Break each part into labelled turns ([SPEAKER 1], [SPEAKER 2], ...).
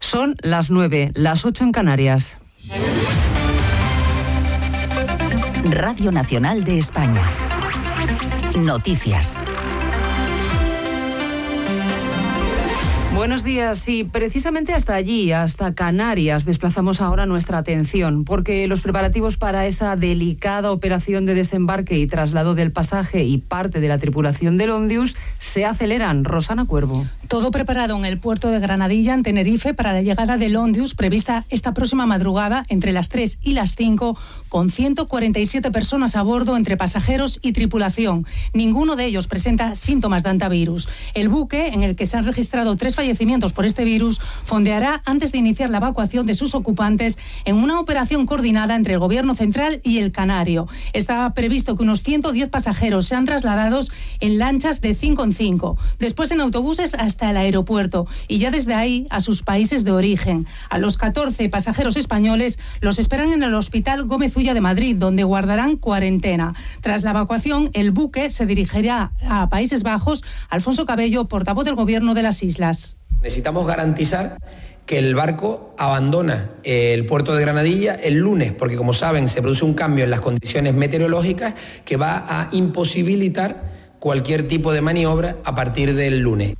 [SPEAKER 1] Son las 9, las 8 en Canarias.
[SPEAKER 2] Radio Nacional de España. Noticias.
[SPEAKER 1] Buenos días. Y precisamente hasta allí, hasta Canarias, desplazamos ahora nuestra atención, porque los preparativos para esa delicada operación de desembarque y traslado del pasaje y parte de la tripulación del Ondius se aceleran. Rosana Cuervo.
[SPEAKER 3] Todo preparado en el puerto de Granadilla, en Tenerife, para la llegada del Ondius, prevista esta próxima madrugada, entre las 3 y las 5, con 147 personas a bordo, entre pasajeros y tripulación. Ninguno de ellos presenta síntomas de hantavirus. El buque, en el que se han registrado 3 fallecimientos por este virus, fondeará antes de iniciar la evacuación de sus ocupantes en una operación coordinada entre el Gobierno Central y el Canario. Está previsto que unos 110 pasajeros sean trasladados en lanchas de 5 en 5, después en autobuses hasta el aeropuerto y ya desde ahí a sus países de origen. A los 14 pasajeros españoles los esperan en el Hospital Gómez Ulla de Madrid, donde guardarán cuarentena. Tras la evacuación, el buque se dirigirá a Países Bajos. Alfonso Cabello, portavoz del Gobierno de las Islas.
[SPEAKER 4] Necesitamos garantizar que el barco abandona el puerto de Granadilla el lunes, porque como saben se produce un cambio en las condiciones meteorológicas que va a imposibilitar cualquier tipo de maniobra a partir del lunes.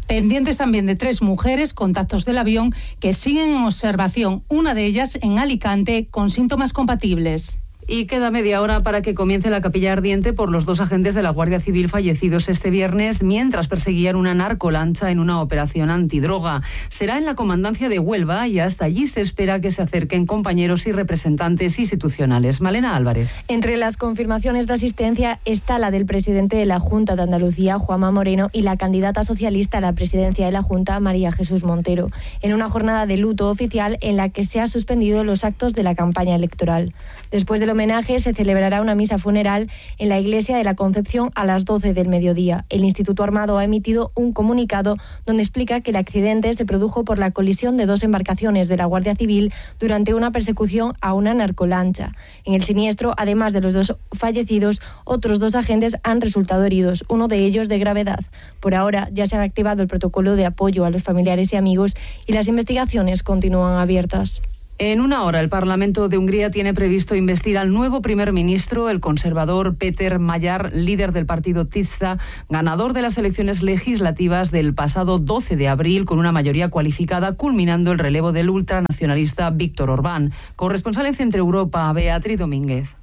[SPEAKER 3] Pendientes también de 3 mujeres, contactos del avión, que siguen en observación, una de ellas en Alicante, con síntomas compatibles.
[SPEAKER 1] Y queda media hora para que comience la capilla ardiente por los 2 agentes de la Guardia Civil fallecidos este viernes mientras perseguían una narcolancha en una operación antidroga. Será en la comandancia de Huelva y hasta allí se espera que se acerquen compañeros y representantes institucionales. Malena Álvarez.
[SPEAKER 5] Entre las confirmaciones de asistencia está la del presidente de la Junta de Andalucía, Juanma Moreno, y la candidata socialista a la presidencia de la Junta, María Jesús Montero, en una jornada de luto oficial en la que se han suspendido los actos de la campaña electoral. Después del homenaje se celebrará una misa funeral en la Iglesia de la Concepción a las 12 del mediodía. El Instituto Armado ha emitido un comunicado donde explica que el accidente se produjo por la colisión de 2 embarcaciones de la Guardia Civil durante una persecución a una narcolancha. En el siniestro, además de los 2 fallecidos, otros 2 agentes han resultado heridos, uno de ellos de gravedad. Por ahora ya se ha activado el protocolo de apoyo a los familiares y amigos y las investigaciones continúan abiertas.
[SPEAKER 1] En una hora, el Parlamento de Hungría tiene previsto investir al nuevo primer ministro, el conservador Péter Magyar, líder del partido Tisza, ganador de las elecciones legislativas del pasado 12 de abril con una mayoría cualificada, culminando el relevo del ultranacionalista Víctor Orbán. Corresponsal en Centro Europa, Beatriz Domínguez.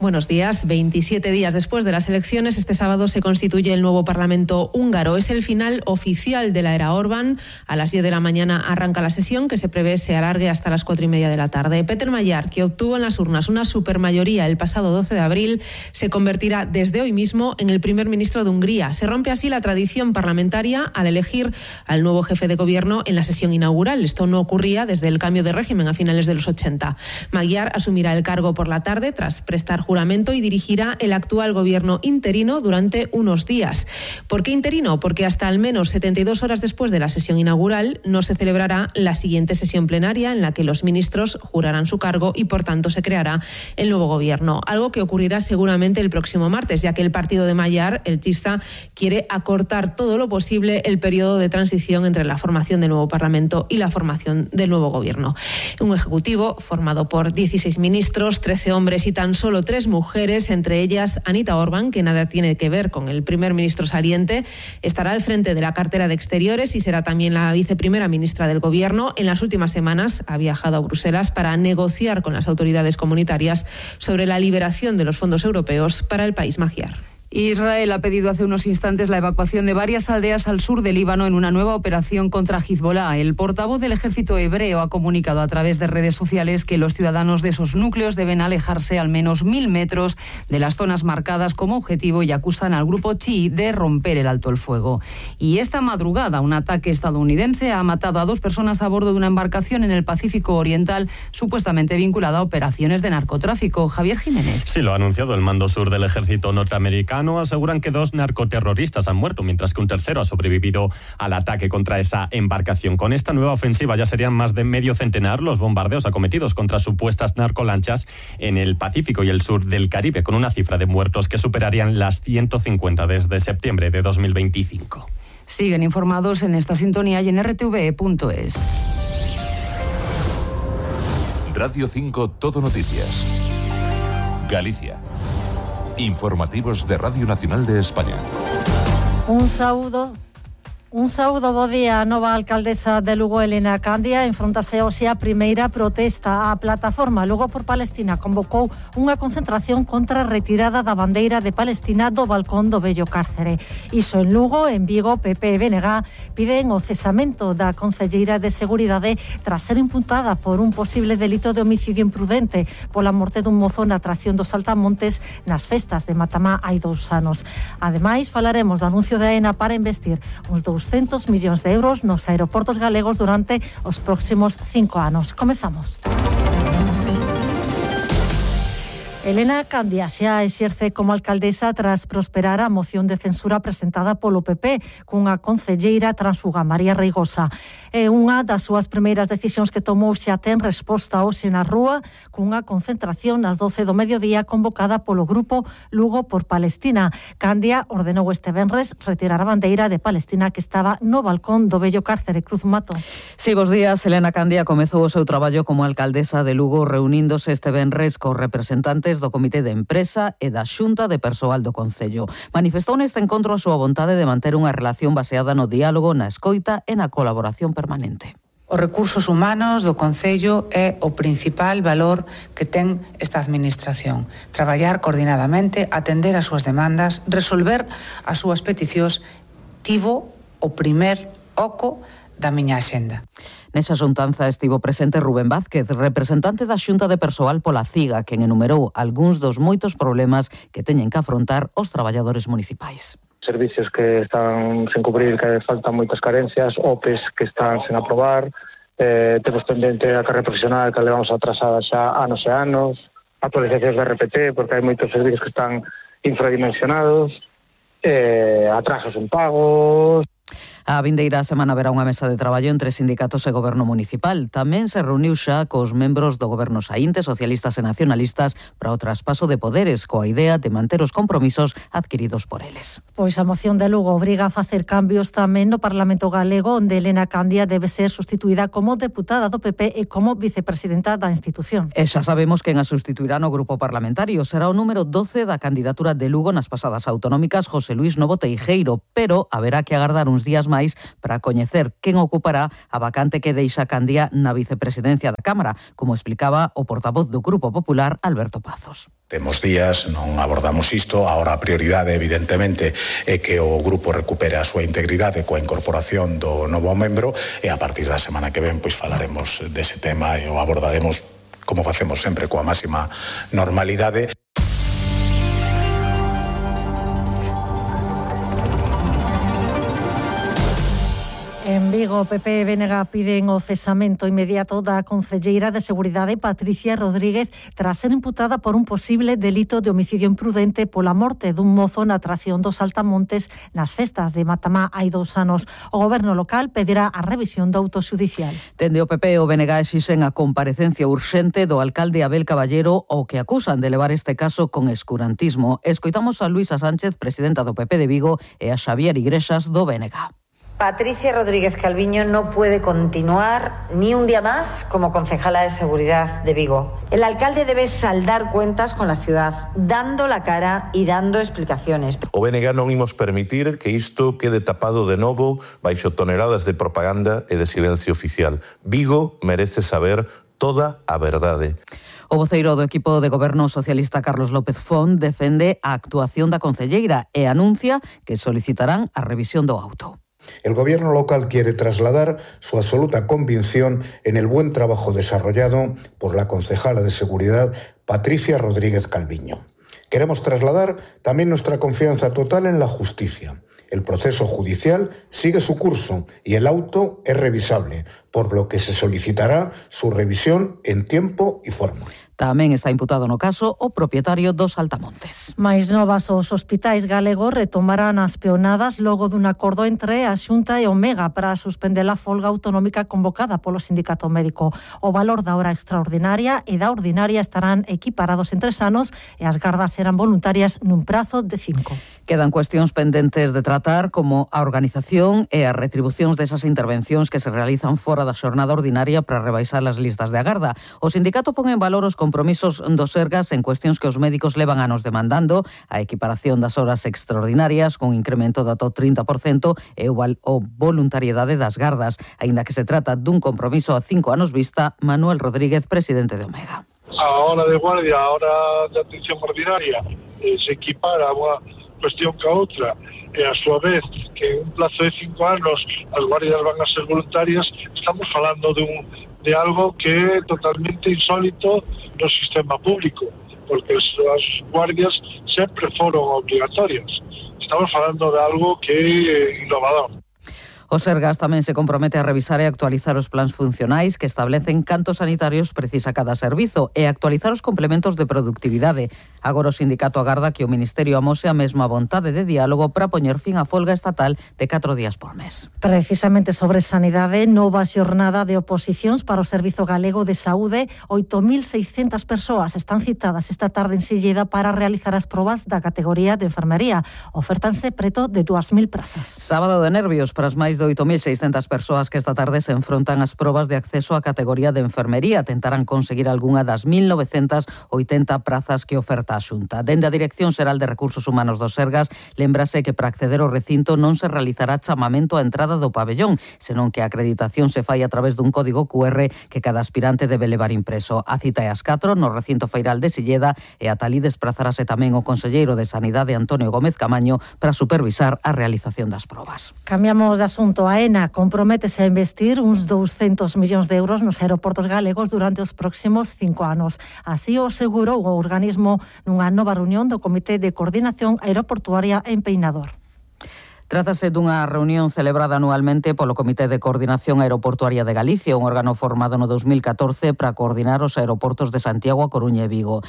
[SPEAKER 6] Buenos días. 27 días después de las elecciones, este sábado se constituye el nuevo Parlamento húngaro. Es el final oficial de la era Orbán. A las 10 de la mañana arranca la sesión, que se prevé se alargue hasta las 4:30 de la tarde. Péter Magyar, que obtuvo en las urnas una supermayoría el pasado 12 de abril, se convertirá desde hoy mismo en el primer ministro de Hungría. Se rompe así la tradición parlamentaria al elegir al nuevo jefe de gobierno en la sesión inaugural. Esto no ocurría desde el cambio de régimen a finales de los 80. Magyar asumirá el cargo por la tarde tras prestar juramento y dirigirá el actual gobierno interino durante unos días. ¿Por qué interino? Porque hasta al menos 72 horas después de la sesión inaugural no se celebrará la siguiente sesión plenaria en la que los ministros jurarán su cargo y por tanto se creará el nuevo gobierno. Algo que ocurrirá seguramente el próximo martes, ya que el partido de Magyar, el Tisza, quiere acortar todo lo posible el periodo de transición entre la formación del nuevo Parlamento y la formación del nuevo gobierno. Un ejecutivo formado por 16 ministros, 13 hombres y tan solo 3 mujeres, entre ellas Anita Orbán, que nada tiene que ver con el primer ministro saliente, estará al frente de la cartera de Exteriores y será también la viceprimera ministra del Gobierno. En las últimas semanas ha viajado a Bruselas para negociar con las autoridades comunitarias sobre la liberación de los fondos europeos para el país magyar.
[SPEAKER 1] Israel ha pedido hace unos instantes la evacuación de varias aldeas al sur del Líbano en una nueva operación contra Hezbollah. El portavoz del ejército hebreo ha comunicado a través de redes sociales que los ciudadanos de esos núcleos deben alejarse al menos 1000 metros de las zonas marcadas como objetivo y acusan al grupo chií de romper el alto el fuego. Y esta madrugada un ataque estadounidense ha matado a 2 personas a bordo de una embarcación en el Pacífico Oriental supuestamente vinculada a operaciones de narcotráfico. Javier Jiménez.
[SPEAKER 7] Sí, lo ha anunciado el mando sur del ejército norteamericano. Aseguran que 2 narcoterroristas han muerto, mientras que un tercero ha sobrevivido al ataque contra esa embarcación. Con esta nueva ofensiva ya serían más de medio centenar los bombardeos acometidos contra supuestas narcolanchas en el Pacífico y el sur del Caribe, con una cifra de muertos que superarían las 150 desde septiembre de 2025.
[SPEAKER 1] Siguen informados en esta sintonía y en rtve.es.
[SPEAKER 8] Radio 5 Todo Noticias. Galicia. Informativos de Radio Nacional de España.
[SPEAKER 9] Un saúdo, bo día. A nova alcaldesa de Lugo, Elena Candia, enfrontase hoxe a primeira protesta. A plataforma Lugo por Palestina convocou unha concentración contra a retirada da bandeira de Palestina do balcón do vello cárcere. Iso en Lugo, en Vigo, PP e BNG piden o cesamento da concelleira de Seguridade tras ser imputada por un posible delito de homicidio imprudente pola morte dun mozo na atracción dos Saltamontes nas festas de Matamá hai 2 anos. Ademais, falaremos do anuncio de AENA para investir uns 200 millóns de euros nos aeroportos galegos durante os próximos 5 anos. Comezamos. Elena Candia xa exerce como alcaldesa tras prosperar a moción de censura presentada polo PP cunha concelleira transfuga, María Reigosa. É unha das súas primeiras decisións que tomou xa ten resposta hoxe na rúa cunha concentración nas 12 do mediodía convocada polo grupo Lugo por Palestina. Candia ordenou este venres retirar a bandeira de Palestina que estaba no balcón do vello cárcere. Cruz Mato.
[SPEAKER 10] Sí, bos días. Elena Candia comezou o seu traballo como alcaldesa de Lugo reuníndose este venres cos representantes do Comité de Empresa e da Xunta de Persoal do Concello. Manifestou neste encontro a súa vontade de manter unha relación baseada no diálogo, na escoita e na colaboración permanente.
[SPEAKER 11] Os recursos humanos do Concello é o principal valor que ten esta administración. Traballar coordinadamente, atender as súas demandas, resolver as súas peticións, tivo o primer oco da miña axenda.
[SPEAKER 10] Nesa xuntanza estivo presente Rubén Vázquez, representante da Xunta de Persoal pola CIGA, quen enumerou algúns dos moitos problemas que teñen que afrontar os traballadores municipais.
[SPEAKER 12] Servicios que están sen cubrir, que faltan moitas carencias, OPEs que están sen aprobar, temos pendente a carreira profesional que levamos atrasada xa anos e anos, actualizacións de RPT, porque hai moitos servicios que están infradimensionados, atrasos en pagos.
[SPEAKER 10] A vindeira semana haberá unha mesa de traballo entre sindicatos e goberno municipal. Tamén se reuniu xa cos membros do goberno saínte, socialistas e nacionalistas, para o traspaso de poderes, coa idea de manter os compromisos adquiridos por eles.
[SPEAKER 9] Pois a moción de Lugo obriga a facer cambios tamén no Parlamento galego, onde Elena Candia debe ser sustituída como deputada do PP e como vicepresidenta da institución.
[SPEAKER 10] E xa sabemos quen a sustituirá no grupo parlamentario. Será o número 12 da candidatura de Lugo nas pasadas autonómicas, José Luís Novo Teijeiro, pero haberá que agardar uns días máis para coñecer quen ocupará a vacante que deixa Candia na vicepresidencia da Cámara, como explicaba o portavoz do Grupo Popular, Alberto Pazos.
[SPEAKER 13] Temos días, non abordamos isto, agora a prioridade evidentemente é que o grupo recupere a súa integridade coa incorporación do novo membro e a partir da semana que ven pois falaremos dese tema e o abordaremos como facemos sempre coa máxima normalidade.
[SPEAKER 9] En Vigo, PP e BNG piden o cesamento inmediato da concelleira de Seguridade Patricia Rodríguez tras ser imputada por un posible delito de homicidio imprudente pola morte dun mozo na atracción dos Saltamontes nas festas de Matamá hai 2 anos. O goberno local pedirá a revisión do auto xudicial.
[SPEAKER 10] Dende o PP e o BNG exixen a comparecencia urxente do alcalde Abel Caballero, ao que acusan de levar este caso con escurantismo. Escoitamos a Luisa Sánchez, presidenta do PP de Vigo, e a Xavier Igrexas do BNG.
[SPEAKER 14] Patricia Rodríguez Calviño no puede continuar ni un día más como concejala de Seguridad de Vigo. El alcalde debe saldar cuentas con la ciudad, dando la cara y dando explicaciones.
[SPEAKER 15] O BNG non imos permitir que isto quede tapado de novo baixo toneladas de propaganda e de silencio oficial. Vigo merece saber toda a verdade.
[SPEAKER 10] O voceiro do equipo de goberno socialista Carlos López Font defende a actuación da concelleira e anuncia que solicitarán a revisión do auto.
[SPEAKER 16] El gobierno local quiere trasladar su absoluta convicción en el buen trabajo desarrollado por la concejala de Seguridad, Patricia Rodríguez Calviño. Queremos trasladar también nuestra confianza total en la justicia. El proceso judicial sigue su curso y el auto es revisable, por lo que se solicitará su revisión en tiempo y forma.
[SPEAKER 10] Tamén está imputado no caso o propietario dos Altamontes.
[SPEAKER 9] Mais novas, os hospitais galegos retomarán as peonadas logo dun acordo entre a Xunta e o Mega para suspender a folga autonómica convocada polo sindicato médico. O valor da hora extraordinaria e da ordinaria estarán equiparados en 3 anos e as gardas serán voluntarias nun prazo de 5.
[SPEAKER 10] Quedan cuestións pendentes de tratar como a organización e as retribucións desas intervencións que se realizan fora da xornada ordinaria para rebaixar as listas de agarda. O sindicato pon en valor os compromisos dos Sergas en cuestións que os médicos levan anos demandando, a equiparación das horas extraordinarias con incremento de ata o 30% e o voluntariedade das gardas. Aínda que se trata dun compromiso a 5 anos vista, Manuel Rodríguez, presidente de Omega.
[SPEAKER 17] A hora de guardia, a hora de atención ordinaria, se equipara a unha cuestión que a outra, e a súa vez que en un plazo de 5 anos as guardias van a ser voluntarias. Estamos falando de algo que é totalmente insólito no sistema público, porque as guardias sempre foron obligatorias. Estamos falando de algo que é innovador.
[SPEAKER 10] O Sergas tamén se compromete a revisar e actualizar os plans funcionais que establecen cantos sanitarios precisa cada servizo e actualizar os complementos de productividade. Agora o sindicato agarda que o Ministerio amose a mesma vontade de diálogo para poñer fin á folga estatal de 4 días por mes.
[SPEAKER 9] Precisamente sobre sanidade, nova xornada de oposicións para o Servizo Galego de Saúde. 8.600 persoas están citadas esta tarde en Silleda para realizar as probas da categoría de enfermería. Ofertanse preto de 2.000 prazas.
[SPEAKER 10] Sábado de nervios para as máis de 8.600 persoas que esta tarde se enfrontan ás probas de acceso á categoría de enfermería. Tentarán conseguir algunha das 1.980 prazas que oferta a Xunta. Dende a Dirección Xeral de Recursos Humanos do Sergas, lémbrase que para acceder ao recinto non se realizará chamamento á entrada do pabellón, senón que a acreditación se fai a través dun código QR que cada aspirante debe levar impreso. A cita é ás 4 no recinto feiral de Silleda e ata alí desprazarase tamén o conselleiro de Sanidade Antonio Gómez Camaño para supervisar a realización das probas.
[SPEAKER 9] Cambiamos de asunto. A ENA comprométese a investir uns 200 millóns de euros nos aeroportos galegos durante os próximos 5 anos. Así o asegurou o organismo nunha nova reunión do Comité de Coordinación Aeroportuaria en Peinador.
[SPEAKER 10] Trátase dunha reunión celebrada anualmente polo Comité de Coordinación Aeroportuaria de Galicia, un órgano formado no 2014 para coordinar os aeroportos de Santiago, A Coruña e Vigo.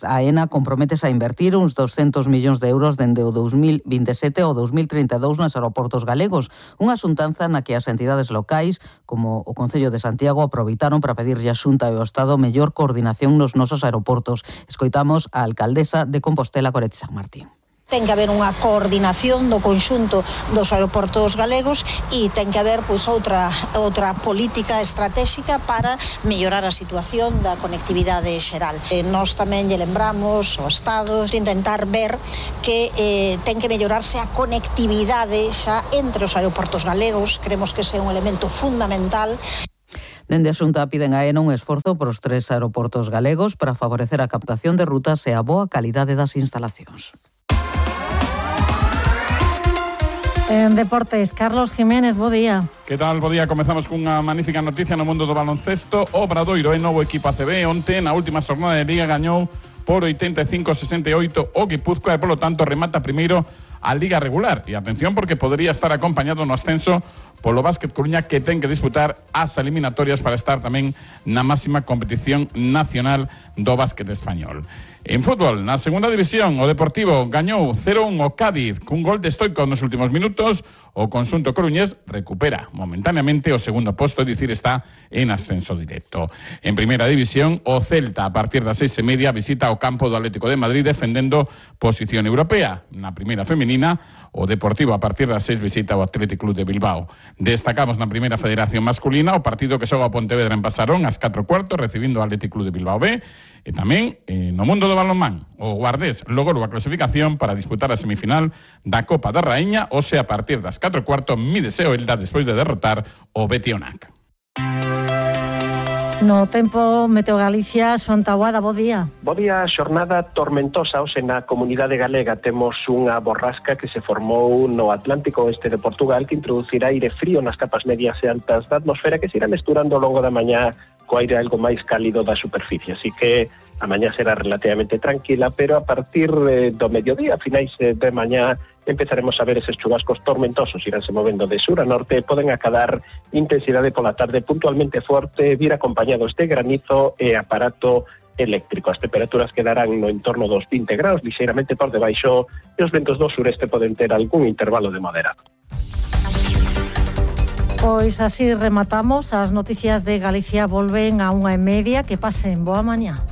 [SPEAKER 10] A ENA comprométese a invertir uns 200 millóns de euros dende o 2027 ao 2032 nos aeroportos galegos, unha xuntanza na que as entidades locais, como o Concello de Santiago, aproveitaron para pedirlle a Xunta e ao Estado mellor coordinación nos nosos aeroportos. Escoitamos a alcaldesa de Compostela, Goretti San Martín.
[SPEAKER 18] Ten que haber unha coordinación do conxunto dos aeroportos galegos e ten que haber outra política estratégica para mellorar a situación da conectividade xeral. Nós tamén lle lembramos ao Estado intentar ver que ten que mellorarse a conectividade xa entre os aeroportos galegos. Creemos que ese é un elemento fundamental.
[SPEAKER 10] Dende a Xunta piden a ENA un esforzo por os 3 aeroportos galegos para favorecer a captación de rutas e a boa calidade das instalacións.
[SPEAKER 9] En deportes, Carlos Jiménez, bo día.
[SPEAKER 19] Que tal, bo día? Comezamos cunha magnífica noticia no mundo do baloncesto. O Obradoiro é novo equipo ACB. Onte, na última xornada de Liga, gañou por 85-68 o Guipúzcoa e, polo tanto, remata primeiro a Liga regular. E atención, porque podría estar acompañado no ascenso polo Básquet Coruña, que ten que disputar as eliminatorias para estar tamén na máxima competición nacional do básquet español. En fútbol, na segunda división, o Deportivo gañou 0-1 o Cádiz cun gol de Stoico nos últimos minutos. O conxunto coruñés recupera momentáneamente o segundo posto, é dicir, está en ascenso directo. En primeira división, o Celta, a partir das 6:30, visita o campo do Atlético de Madrid defendendo posición europea. Na primeira femenina, o Deportivo, a partir das 6, visita o Athletic Club de Bilbao. Destacamos na primeira federación masculina o partido que xoga o Pontevedra en Pasarón ás 4:15, recibindo o Athletic Club de Bilbao B. E tamén no mundo do balonmán, o Guardés logrou a clasificación para disputar a semifinal da Copa da Raíña, ou sea, a partir das 4:15, mídese o Elda despois de derrotar o Betionac.
[SPEAKER 9] No tempo, Meteo Galicia, Xoan Taboada, bo día.
[SPEAKER 20] Bo día, xornada tormentosa hoxe na comunidade galega. Temos unha borrasca que se formou no Atlántico oeste de Portugal que introducirá aire frío nas capas medias e altas da atmosfera que se irá mesturando ao longo da mañá co aire algo máis cálido da superficie. Así que a mañá será relativamente tranquila, pero a partir do mediodía, a finais de mañá, empezaremos a ver eses chubascos tormentosos, iránse movendo de sur a norte, poden acadar intensidade pola tarde puntualmente forte, vir acompañados de granizo e aparato eléctrico. As temperaturas quedarán no entorno dos 20 graus, lixeiramente por debaixo, e os ventos do sureste poden ter algún intervalo de moderado.
[SPEAKER 9] Pois así rematamos. As noticias de Galicia volven a 1:30. Que pasen boa mañá.